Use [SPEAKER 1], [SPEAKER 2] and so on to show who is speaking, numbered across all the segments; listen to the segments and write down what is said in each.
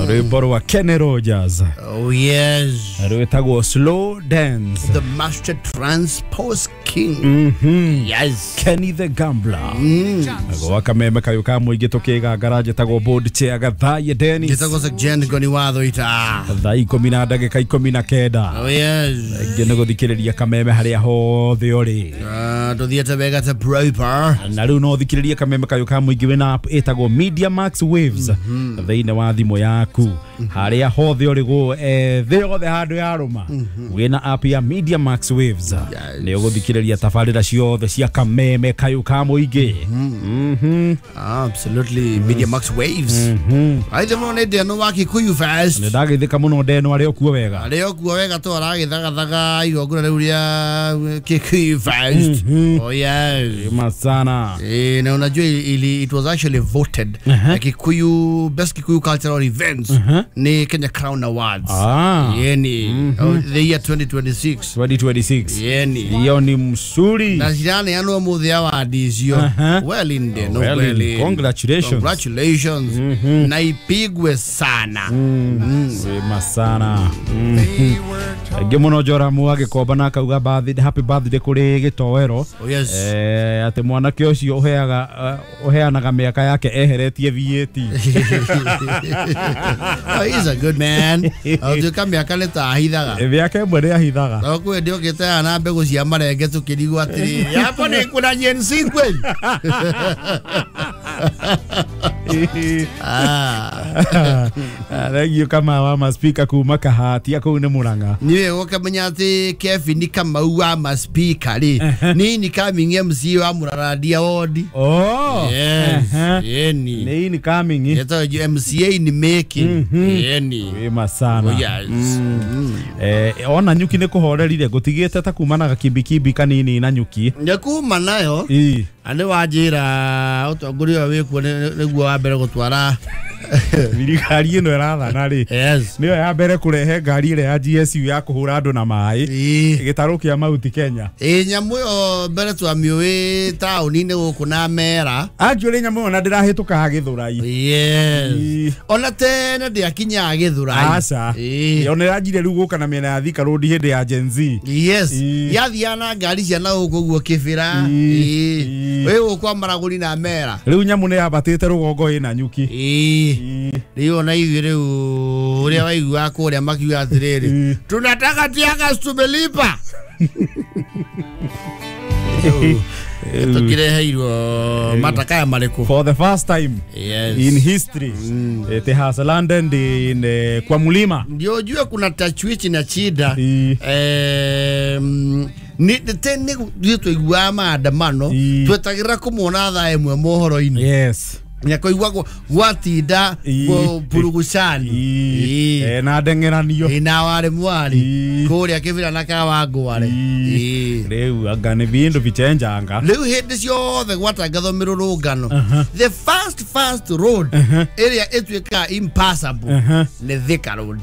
[SPEAKER 1] Rwĩmbo rwa Kenny Rogers.
[SPEAKER 2] Oh yes.
[SPEAKER 1] Rwĩtagwo Slow Dance.
[SPEAKER 2] The Master Transpose King. Yes.
[SPEAKER 1] Kenny the Gambler. Gwa kameme kayo ka mũingĩ tũkĩgangara njĩtagwo board chair Gathaye Dennis.
[SPEAKER 2] Njĩtagwo Sergeant Ngoni watho ita.
[SPEAKER 1] Thaa ikũmi na ndagĩka 19.
[SPEAKER 2] Oh yes.
[SPEAKER 1] Ingĩ nĩ gũthikĩrĩria kameme harĩa hothe ũrĩ.
[SPEAKER 2] Tũthiĩte wega ta proper.
[SPEAKER 1] Na rĩu no ũthikĩrĩrie kameme kayo ka mũingĩ wĩna app ĩtagwo Media Max Waves thĩinĩ wa thimũ yaku harĩa hothe ũrĩ thĩ yothe handũ yarũma wĩna app ya Media Max Waves nĩ ũgũthikĩrĩria tabarĩra ciothe cia kameme kayo ka mũingĩ.
[SPEAKER 2] Absolutely. Media Max Waves. Aithe mũno nĩ ndeno wa Kikuyu Fest.
[SPEAKER 1] Nĩ ndagĩthĩka mũno ndeno arĩ okuo wega.
[SPEAKER 2] Arĩ okuo wega tu aragĩthagathaga igongona rĩu rĩa Kikuyu Fest. Oh yes.
[SPEAKER 1] Masana.
[SPEAKER 2] Na unajua it was actually voted Kikuyu best Kikuyu cultural events ni Kenya Crown Awards. Yeni the year 2026.
[SPEAKER 1] 2026.
[SPEAKER 2] Yeni.
[SPEAKER 1] Hiyo ni msuri.
[SPEAKER 2] Na jirani ano muthi award icio. Well in the no well in.
[SPEAKER 1] Congratulations.
[SPEAKER 2] Congratulations. Na ipigwe sana.
[SPEAKER 1] Sema sana. Ngĩ mũno Joramu agĩkomba na akauga birthday, happy birthday kũrĩ gĩtoero.
[SPEAKER 2] Oh yes.
[SPEAKER 1] Atĩ mwanake ũcio ũheanaga mĩaka yake eheretie VAT.
[SPEAKER 2] Oh, he's a good man. Ũtuĩka mĩaka nĩ ta ahithaga.
[SPEAKER 1] Mĩaka ĩmwe nĩ ahithaga.
[SPEAKER 2] No kwĩ ndĩ ũkĩte na mbegũ cia marenge tũkĩrigwo atĩrĩrĩ hapo nĩ kuna Gen Z kweli.
[SPEAKER 1] Thank you kama wa maspika kuma kahatia kuu nĩ Murang'a.
[SPEAKER 2] Niwe ũkamenya atĩ Kevin Kamau wa maspika rĩ ni incoming MC wa Muraradia ward.
[SPEAKER 1] Oh
[SPEAKER 2] yes. Yeni
[SPEAKER 1] ni incoming
[SPEAKER 2] yeto MCA ni making. Yeni
[SPEAKER 1] wema sana.
[SPEAKER 2] Oh yes.
[SPEAKER 1] Ona nyuki nĩ kũhorerire gũtigĩte ta kuma na gakimbikibi kanini na nyuki
[SPEAKER 2] nĩ kuma nayo anĩ wanjĩra ũtongoria ũyũ wĩkuo nĩguo wa mbere gũtwara
[SPEAKER 1] thirikari ĩno ĩrathana rĩ.
[SPEAKER 2] Yes.
[SPEAKER 1] Nĩyo ya mbere kũrehe ngari ĩrĩa ya GSU ya kũhũra andũ na maĩ gĩtarũ kĩa Mount Kenya.
[SPEAKER 2] Nyamũ ĩyo mbere twamĩũĩ taũni-inĩ gũkũ na mera.
[SPEAKER 1] Actually nyamũ ĩyo na ndĩrahĩtũkaga Gĩthũrai.
[SPEAKER 2] Yes. Ona tene ndĩakinyaga Gĩthũrai.
[SPEAKER 1] Aca. Yo nĩranjire rĩu gũka na mĩena ya Thika Road hĩndĩ ya Gen Z.
[SPEAKER 2] Yes. Yathiaga na ngari cia na gũkũ ũguo Kĩbĩra. Wĩ gũkũ Maragũri na mera.
[SPEAKER 1] Rĩu nyamũ nĩyambatĩte rũgongo ĩna nyuki.
[SPEAKER 2] Rĩu ona ithuĩ rĩu ũrĩa waiguaga kũrĩa makiuga atĩrĩrĩ tunataka teargas tumelipa. Tũkĩreheirwo matakaya marĩkũ
[SPEAKER 1] for the first time.
[SPEAKER 2] Yes.
[SPEAKER 1] In history. It has landed in kwa mlima.
[SPEAKER 2] Ndio ujue kuna tachwichi na chida. Ni tene twaiguaga maandamano twetagĩrĩra kũmona thaa ĩmwe mohoro-inĩ.
[SPEAKER 1] Yes.
[SPEAKER 2] Nyakoigua gwatinda purugucani
[SPEAKER 1] na ndeng'eranio
[SPEAKER 2] na warĩ mwari kũrĩa Kĩbĩra na Kawangware.
[SPEAKER 1] Rĩu anga nĩ vindu vichenjanga.
[SPEAKER 2] Rĩu hĩndĩ ciothe gwatangathwo mĩrũrũngano the first road ĩrĩa ĩtuĩkaga impassable nĩ Thika Road.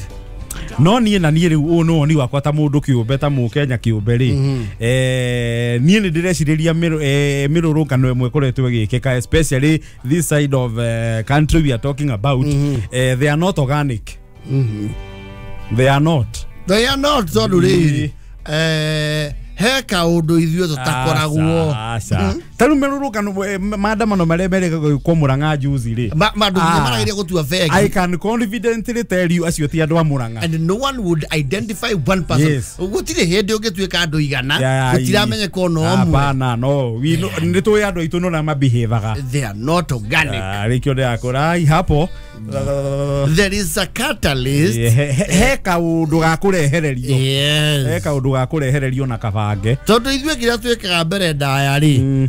[SPEAKER 1] No niĩ na niĩ rĩu ũũ nĩ woni wakwa ta mũndũ kĩũmbe ta mũkenya kĩũmbe rĩ niĩ nĩ ndĩrecirĩria mĩrũrũngano ĩmwe ĩkoretwo ĩgĩkĩka especially this side of country we are talking about. They are not organic. They are not.
[SPEAKER 2] They are not tondũ rĩrĩ he kaũndũ ithuĩ tũtakoragwo.
[SPEAKER 1] Ta rĩu mĩrũrũngano maandamano marĩa merĩga gwĩkwo Murang'a juzi rĩ
[SPEAKER 2] mandũ marageria gũtua bengi.
[SPEAKER 1] I can confidently tell you acio ti andũ a Murang'a.
[SPEAKER 2] And no one would identify one person.
[SPEAKER 1] Yes.
[SPEAKER 2] Gũtirĩ hĩndĩ ũngĩtuĩka andũ igana gũtiramenyeka ona ũmwe.
[SPEAKER 1] Hapana no nĩ tũĩ andũ aitũ no na mabehavaga.
[SPEAKER 2] They are not organic.
[SPEAKER 1] Rĩkĩo ndĩrakũra hapo
[SPEAKER 2] there is a catalyst.
[SPEAKER 1] He kaũndũ ga kũrehererio.
[SPEAKER 2] Yes.
[SPEAKER 1] He kaũndũ ga kũrehererio na kabange.
[SPEAKER 2] Tondũ ithuĩ kĩrĩa twĩkaga mbere ndaya rĩ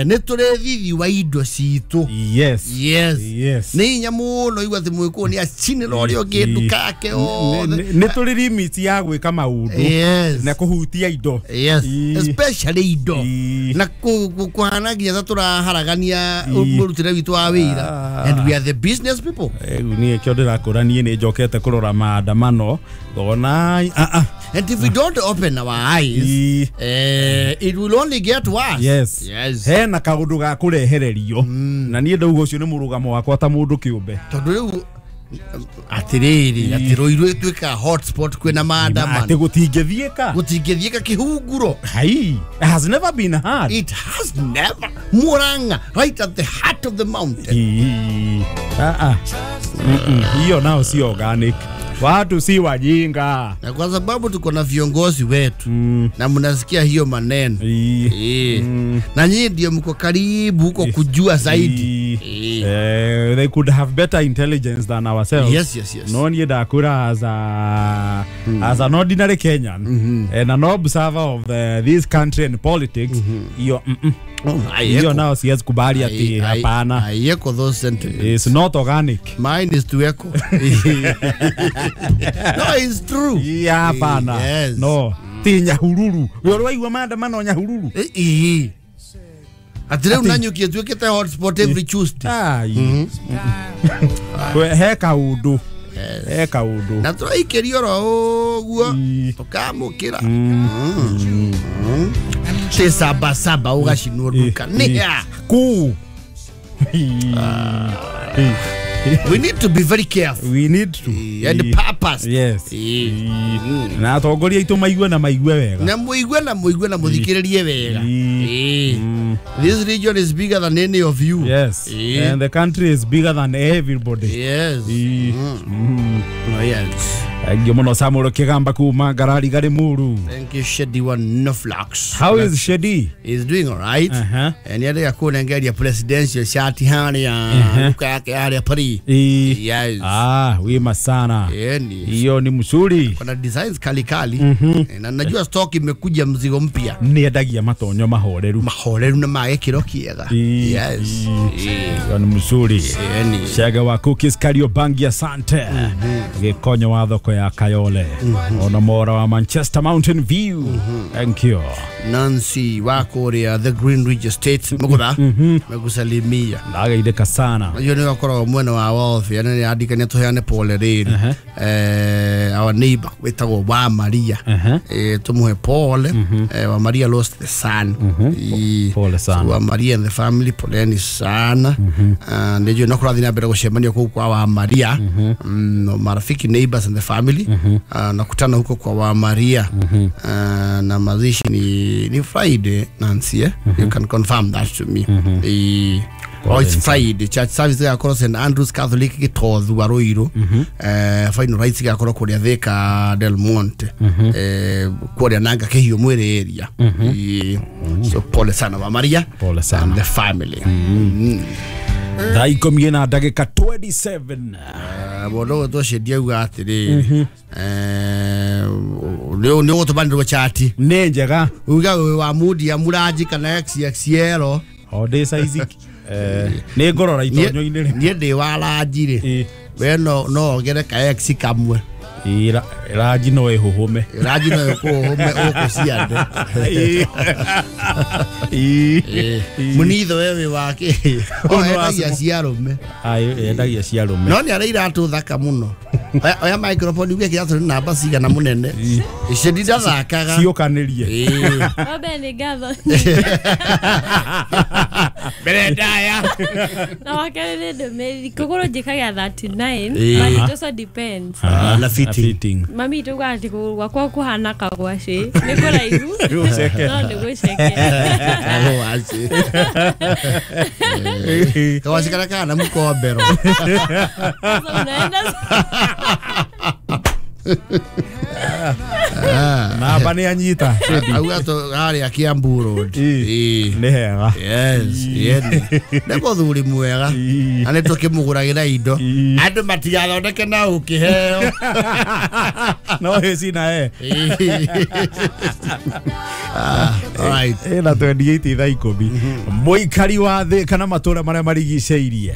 [SPEAKER 2] nĩ tũrĩ thithi wa indo citũ.
[SPEAKER 1] Yes.
[SPEAKER 2] Yes.
[SPEAKER 1] Yes.
[SPEAKER 2] Nĩ hinya mũno igua atĩ mwĩkũyũ nĩ acinĩra ũrĩa ũngĩ nduka yake othe.
[SPEAKER 1] Nĩ tũrĩ limit ya gwĩka maũndũ.
[SPEAKER 2] Yes.
[SPEAKER 1] Na kũhutia indo.
[SPEAKER 2] Yes. Especially indo. Na kũhana nginya ta tũraharagania mũrutĩre witũ wa wĩra. And we are the business people.
[SPEAKER 1] Niĩ kĩo ndĩrakũra niĩ nĩ njokete kũrora maandamano ngona
[SPEAKER 2] And if we don't open our eyes, it will only get worse.
[SPEAKER 1] Yes.
[SPEAKER 2] Yes.
[SPEAKER 1] Hena kaũndũ ga kũrehererio. Na niĩ ndauga ũcio nĩ mũrũgamo wakwa ta mũndũ kĩũmbe.
[SPEAKER 2] Tondũ rĩu Atiriri atiroirwe twika hotspot kwina maandamano
[SPEAKER 1] ati gutingithiika
[SPEAKER 2] gutingithiika kihunguro.
[SPEAKER 1] Hai, it has never been hard.
[SPEAKER 2] It has never. Murang'a right at the heart of the mountain.
[SPEAKER 1] Hiyo nao si organic. Watu si wajinga.
[SPEAKER 2] Na kwa sababu tuko na viongozi wetu na mnasikia hiyo maneno. Na nyinyi ndio mko karibu huko kujua zaidi.
[SPEAKER 1] They could have better intelligence than ourselves.
[SPEAKER 2] Yes, yes, yes.
[SPEAKER 1] No need akura as as an ordinary Kenyan and an observer of this country and politics. Hiyo hiyo nao siwezi kubali ati hapana.
[SPEAKER 2] I echo those sentiments.
[SPEAKER 1] It's not organic.
[SPEAKER 2] Mine is to echo. No, it's true.
[SPEAKER 1] Yeah, hapana.
[SPEAKER 2] Yes.
[SPEAKER 1] No. Ti Nyahururu. Wewe waigua maandamano Nyahururu.
[SPEAKER 2] Ati leo Nanyuki tuwekete hotspot every Tuesday.
[SPEAKER 1] We he kaundu. He kaundu.
[SPEAKER 2] Na turaikerio ro uguo tukamukira. Te saba saba ugacinwo nduka. Ni
[SPEAKER 1] ku.
[SPEAKER 2] We need to be very careful.
[SPEAKER 1] We need to.
[SPEAKER 2] And purpose.
[SPEAKER 1] Yes. Na atongoria itu maigue na maigue wega.
[SPEAKER 2] Na muigue na muigue na muthikiririe wega. This region is bigger than any of you.
[SPEAKER 1] Yes. And the country is bigger than everybody.
[SPEAKER 2] Yes. Oh, yes.
[SPEAKER 1] Thank you muno Samuel Kigamba kuma Ngarari gari muru.
[SPEAKER 2] Thank you Shedi wa Noflax.
[SPEAKER 1] How is Shedi?
[SPEAKER 2] He's doing all right. And yale yakuna ngeria presidential shati hani ya luka yake ya Paris. Yes.
[SPEAKER 1] Ah, wima sana. Hiyo ni mzuri.
[SPEAKER 2] Kuna designs kali kali. Na najua stock imekuja mzigo mpya.
[SPEAKER 1] Ni endagia matonyo mahoreru.
[SPEAKER 2] Mahoreru na magekiro kiega. Yes.
[SPEAKER 1] Hiyo ni mzuri. Shega wa Cookies Kariobangi asante. Gikonyo wa thoko ya Kayole. Ona mora wa Manchester Mountain View. Thank you.
[SPEAKER 2] Nancy wa Korea the Green Ridge Estate mugura megusalimia.
[SPEAKER 1] Ndagaithika sana.
[SPEAKER 2] Hiyo ni wakoragwo mwena wa welfare na andikania tuheane pole riri. Our neighbor wetagwo wa Maria. Tumuhe pole. Wa Maria lost the son.
[SPEAKER 1] Pole sana.
[SPEAKER 2] Wa Maria and the family poleni sana. Ndio no kurathi na mbere gucemania kuu kwa wa Maria. Marafiki neighbors and the family. Nakutana huko kwa wa Maria. Na mazishi ni Friday Nancy, You can confirm that to me. Oh, it's Friday. Church service igakorwo St Andrews Catholic Gitothu Ruiru. Final rites igakorwo kuria Thika Del Monte. Kuria nanga Kihio mwiri area. So pole sana wa Maria.
[SPEAKER 1] Pole sana.
[SPEAKER 2] And the family.
[SPEAKER 1] Thaa ikũmi na ndagĩka 27.
[SPEAKER 2] Mũndũ ũgwĩtwo Shedi auga atĩrĩrĩ, nĩ ũgũtũmanĩrwo chati.
[SPEAKER 1] Nĩ njega.
[SPEAKER 2] Uga wĩ wa mudi ya Mũranji kana XXL.
[SPEAKER 1] O ndĩ size nĩ ngorora itonyo-inĩ rĩ.
[SPEAKER 2] Niĩ ndĩ wa ranji rĩ. We no wongere ka X kamwe.
[SPEAKER 1] Ranji no ĩhũhũme.
[SPEAKER 2] Ranji no ĩkũhũhũme ũkũciande. Mũnitho we wĩ wake. Endagia cia arũme.
[SPEAKER 1] Endagia cia arũme.
[SPEAKER 2] No nĩ arĩ iratũ thaka mũno. Oya microphone uge kĩratũ nĩ namba cigana mũnene. Icio ndirathakaga.
[SPEAKER 1] Ciũkanĩrie.
[SPEAKER 3] Wambe nĩ ngatho.
[SPEAKER 2] Mbere ndaya.
[SPEAKER 3] Na wakerĩ nĩ ndũmĩrĩri. Kũgũrũ njĩkagia 39 but it also depends.
[SPEAKER 2] Na fitting.
[SPEAKER 3] Mami tuga ati kũgũrũ gwakwa kũhana kagwacĩ. Nĩ kũraihu. No nĩ gũceke.
[SPEAKER 2] Kagwacĩ. Kagwacĩ karĩa kahana mũkombero.
[SPEAKER 1] Namba nĩ anyita.
[SPEAKER 2] Auga harĩa Kiambu Road.
[SPEAKER 1] Nĩ hega.
[SPEAKER 2] Yes, nĩ mũthuri mwega. Na nĩ tũkĩmũgũragĩra indo. Andũ matigathondeke na ũkĩheo.
[SPEAKER 1] No hĩci na e.
[SPEAKER 2] Alright.
[SPEAKER 1] Ĩna 28 thaa ikũmi. Mũikari wa thĩ kana matũra marĩa marigicĩirie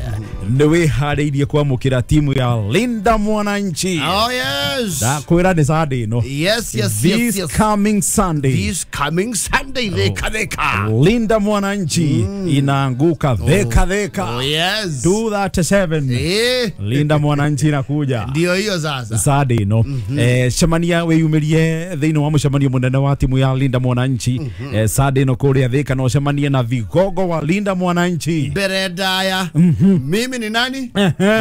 [SPEAKER 1] nĩ wĩharĩirie kwamũkĩra timu ya Linda Mwananchi.
[SPEAKER 2] Oh yes.
[SPEAKER 1] Ndakwĩra nĩ Sunday ĩno.
[SPEAKER 2] Yes, yes,
[SPEAKER 1] This
[SPEAKER 2] yes, yes.
[SPEAKER 1] coming Sunday.
[SPEAKER 2] This coming Sunday, theka theka.
[SPEAKER 1] Linda Mwananchi inaanguka theka theka.
[SPEAKER 2] Oh yes.
[SPEAKER 1] 2:37. Linda Mwananchi inakuja.
[SPEAKER 2] Ndio hiyo sasa.
[SPEAKER 1] Sunday ĩno. Cemania wĩyumĩrie thĩinĩ wa mũcemanio mũnene wa timu ya Linda Mwananchi. Sunday ĩno kũrĩa Thika no cemanie na vigogo wa Linda Mwananchi.
[SPEAKER 2] Mbere ndaya. Mimi ni nani?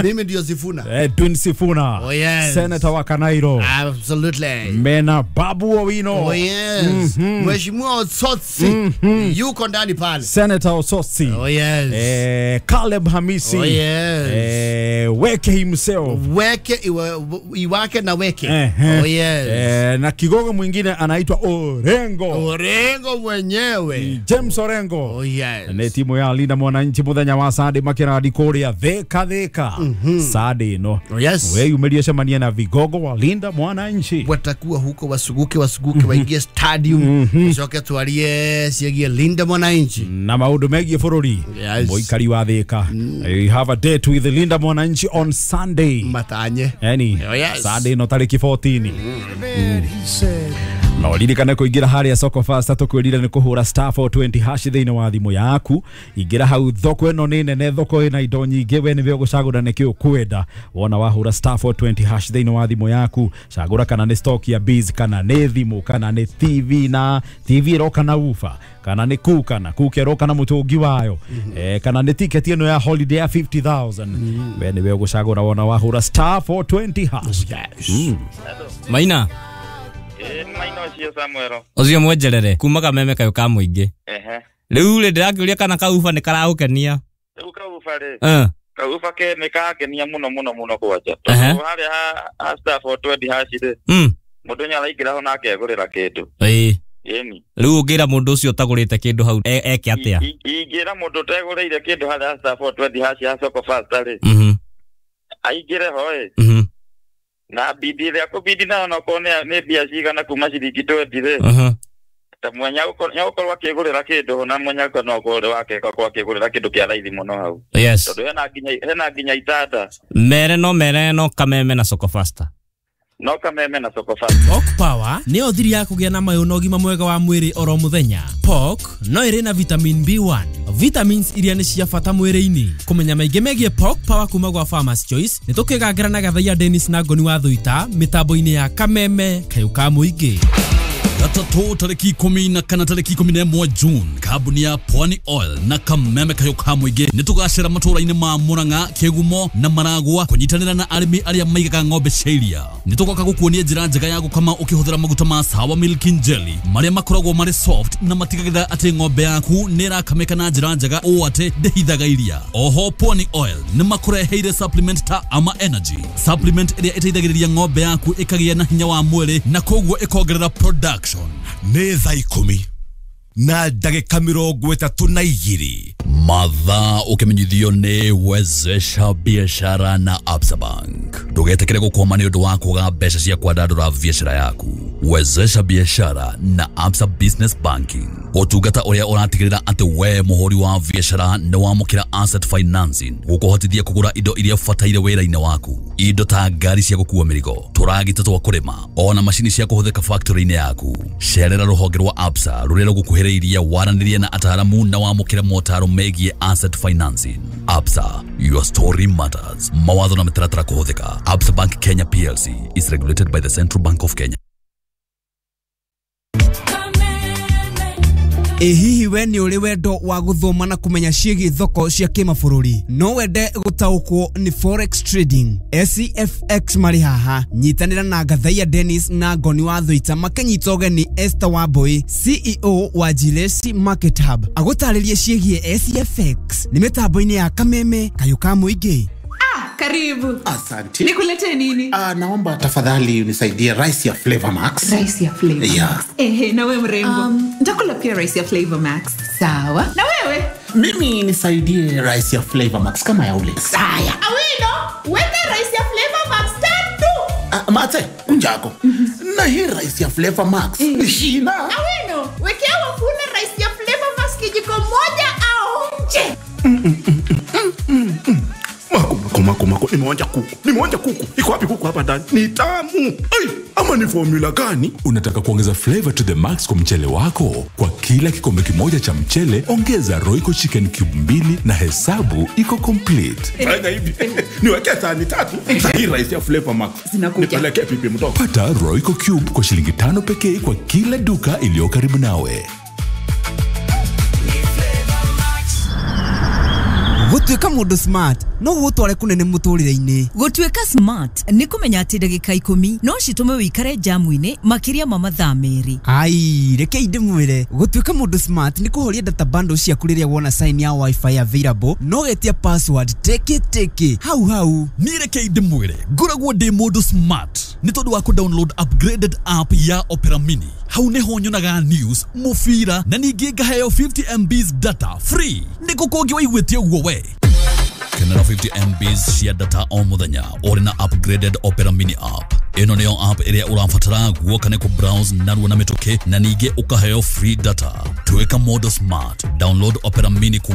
[SPEAKER 2] Mimi ndio Sifuna.
[SPEAKER 1] Edwin Sifuna.
[SPEAKER 2] Oh yes.
[SPEAKER 1] Senator wa Kanairo.
[SPEAKER 2] Absolutely.
[SPEAKER 1] Mena Babu Owino.
[SPEAKER 2] Oh yes. Mheshimiwa Osotsi. Yuko ndani pale.
[SPEAKER 1] Senator Osotsi.
[SPEAKER 2] Oh yes.
[SPEAKER 1] Caleb Hamisi.
[SPEAKER 2] Oh yes.
[SPEAKER 1] Weke himself.
[SPEAKER 2] Weke iwake na weke. Oh yes.
[SPEAKER 1] Na kigogo mwingine anaitwa Orengo.
[SPEAKER 2] Orengo mwenyewe.
[SPEAKER 1] James Orengo.
[SPEAKER 2] Oh yes.
[SPEAKER 1] Ne timu ya Linda Mwananchi muthenya wa Sunday makiradi kuria Thika Thika. Sunday no.
[SPEAKER 2] Oh yes.
[SPEAKER 1] We umeria cemania na vigogo wa Linda Mwananchi.
[SPEAKER 2] Watakuwa huko wasuguke waingie stadium. Coke twarie ciegie Linda Mwananchi.
[SPEAKER 1] Na maundu megie bururi.
[SPEAKER 2] Yes.
[SPEAKER 1] Muikari wa Thika. You have a date with the Linda Mwananchi on Sunday.
[SPEAKER 2] Matanye.
[SPEAKER 1] Yani.
[SPEAKER 2] Oh yes.
[SPEAKER 1] Sunday no tariki 14. No ririkane kuingira haria soko fasta tukwirire ni kuhura *420 hash thiini wa thimu yaku. Ingira hau thoko ino ni nene, thoko ina indo nyingi, we niwe ugucagura niki ukwenda. Wona wahura *420 hash thiini wa thimu yaku, cagura kana ni stock ya biz, kana ni thimu, kana ni TV, na TV iroka na ufa, kana ni kuka na kuka iroka na mutungi wayo, kana ni ticket ino ya holiday ya 50,000. We niwe ugucagura wona wahura *420 hash.
[SPEAKER 2] Yes.
[SPEAKER 4] Maina
[SPEAKER 5] Maina ucio Samuel.
[SPEAKER 4] Ucio mwenjerere kuma kameme kayo ka muingi. Riu ri ndirakiuria kana kauba ni karagukenia.
[SPEAKER 5] Riu kauba ri. Kauba ke ni kagenia muno muno muno kwanja. Tondu haria ha *420 hash ri. Mundu ni araingira ho na akegurira kindu. Yeni.
[SPEAKER 4] Riu ungira mundu ucio utagurite kindu hau eke atia?
[SPEAKER 5] Ingira mundu utegurire kindu haria *420 hash ya soko fast ri. Aingire ho ri. Na bidi ya kubidi na no kone ne bia cigana kuma ciringi 20 ri. Ta mwenya ukorwo akigurira kindu na mwenya no kore wake kwa akigurira kindu kia raithi muno hau.
[SPEAKER 4] Yes.
[SPEAKER 5] Tondu hena nginya itanda.
[SPEAKER 4] Mere no kameme na soko fasta.
[SPEAKER 5] No kameme na soko fasta.
[SPEAKER 6] Pork Power nĩyo thiri ya kũgĩa na mayũ na ũgima mwega wa mwĩrĩ oro mũthenya. Pork no ĩrĩ na vitamin B1, vitamins iria nĩ cia bata mwĩrĩ-inĩ. Kũmenya maingĩ megiĩ Pork Power kuma gwa Farmers Choice nĩ tũkĩgangĩra na Gathaiya Dennis na Ngoni wa Thuita mĩtambo-inĩ ya Kameme kayũ ka mũingĩ.
[SPEAKER 7] Gatatũ tariki 14 tariki 11 June, kambuni ya Pwani Oil na Kameme kayo ka mũingĩ nĩ tũgacera matũra-inĩ ma Murang'a, Kĩgumo na Maragwa kũnyitanĩra na arĩmi arĩa maigaga ng'ombe cia iria. Nĩ tũgoka gũkuonia njĩra njega ya gũkama ũkĩhũthĩra maguta ma Sawa Milk and Jelly marĩa makoragwo marĩ soft na matigagĩrĩra atĩ ng'ombe yaku nĩ ĩrakamĩka na njĩra njega ũũ atĩ ndĩhithaga iria. Oho Pwani Oil nĩ makũreheire supplement ta Ama Energy, supplement ĩrĩa ĩteithagĩrĩria ng'ombe yaku ĩkagĩa na hinya wa mwĩrĩ na koguo ĩkongerera production.
[SPEAKER 8] Nĩ thaa 10 na ndagĩka 32.
[SPEAKER 7] Mathaa ũkĩmenyithio nĩ Wezesha Biashara na Absa Bank. Ndũgetĩkĩre gũkwama nĩ ũndũ wa kwaga mbeca cia kwandandũra biashara yaku. Wezesha Biashara na Absa Business Banking, ũtungata ũrĩa ũratigĩrĩra atĩ we mũhũri wa biashara nĩ wamũkĩra asset financing gũkũhotithia kũgũra indo iria ũbataire wĩra-inĩ waku, indo ta ngari cia gũkua mĩrigo, tũragita twa kũrĩma, ona macini cia kũhũthĩka factory-inĩ yaku. Cerera rũhonge rwa Absa rũrĩa rũgũkuhĩrĩirie, waranĩrie na ataaramu na wamũkĩre motaro megiĩ asset financing. Absa, your story matters. Mawatho na mĩtaratara kũhũthĩka. Absa Bank Kenya PLC is regulated by the Central Bank of Kenya.
[SPEAKER 9] Hihi we nĩ ũrĩ wendo wa gũthoma na kũmenya ciĩgiĩ thoko cia kĩmabũrũri? No wende gũtaũkwo nĩ forex trading? SCFX marĩ haha. Nyitanĩra na Gathaiya Dennis na Ngoni wa Thuita makĩnyita ũgeni Esther Wambui, CEO wa Jilesi Market Hub, agũtarĩrie ciĩgiĩ SCFX nĩ mĩtambo-inĩ ya Kameme kayũ ka mũingĩ.
[SPEAKER 10] Karibu.
[SPEAKER 11] Asante.
[SPEAKER 10] Nikuletee nini?
[SPEAKER 11] Naomba tafadhali unisaidie rice ya Flavor Max.
[SPEAKER 10] Rice ya Flavor Max.
[SPEAKER 11] Yeah.
[SPEAKER 10] Ehe, na wewe mrembo. Nitakula pia rice ya Flavor Max. Sawa. Na wewe?
[SPEAKER 11] Mimi nisaidie rice ya Flavor Max kama ya ule.
[SPEAKER 10] Saya. Awino, weka rice ya Flavor Max tatu.
[SPEAKER 11] Mate, unjako. Na hii rice ya Flavor Max. Ni shina.
[SPEAKER 10] Awino, wekea wafuna rice ya Flavor Max kijiko moja au nje.
[SPEAKER 11] Mako, nimeonja kuku. Iko wapi kuku hapa ndani? Ni tamu. Ai, ama ni formula gani?
[SPEAKER 12] Unataka kuongeza flavor to the max kwa mchele wako? Kwa kila kikombe kimoja cha mchele, ongeza Royco Chicken Cube 2 na hesabu iko complete.
[SPEAKER 11] Fanya hivi. Niweke sahani 3. Sahii rice ya Flavor Max. Nipeleke pipi mtoto.
[SPEAKER 12] Pata Royco Cube kwa shilingi 5 pekee kwa kila duka iliyo karibu nawe.
[SPEAKER 9] Gũtuĩka mũndũ smart no gũgũtware kũnene mũtũrĩre-inĩ.
[SPEAKER 13] Gũtuĩka smart nĩ kũmenya atĩ ndagĩka 10 no citũme wĩikare jamu-inĩ makĩria ma mathaa 2.
[SPEAKER 9] Ai, rekei ndĩmwĩre, gũtuĩka mũndũ smart nĩ kũhoria data bundle ciaku rĩrĩa wona sign ya wifi available no getia password teke teke hau hau.
[SPEAKER 7] Niĩ rekei ndĩmwĩre, ngoragwo ndĩ mũndũ smart nĩ tondũ wa kũ-download upgraded app ya Opera Mini. Hau nĩho nyonaga news, mũbira na ningĩ ngaheo 50 MBs data free. Nĩ kũ kũngĩ waiguĩte ũguo we? Kenera 50 MBs cia data o mũthenya ũrĩ na upgraded Opera Mini app. Ĩno nĩyo app ĩrĩa ũrabatara guoka nĩ kũ-browse narua na mĩtũkĩ na ningĩ ũkaheo free data. Tuĩka mũndũ smart. Download Opera Mini kuma